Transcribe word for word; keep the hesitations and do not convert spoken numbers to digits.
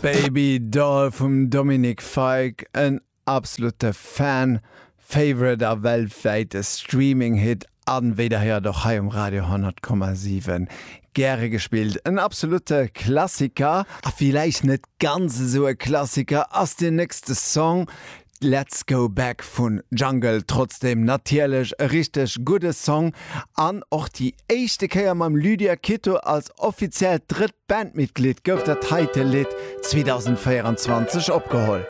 Baby Doll vum Dominic Fike, en absolute Fan Favorite a weltwäite Streaming Hit an wéi der héiert och hei um Radio honnert Komma siwen gäre gespillt. En absolute Klassiker, a villäicht net ganz esou e Klassiker ass den nächste Song Let's Go Back vun Jungle, trotzdem natierlech e richteg gudde Song an och déi éischte Kéier mam Lydia Quito als offiziellt drëtt Bandmitglied gouf dat heite Lidd zweedausendvéierenzwanzeg opgeholl.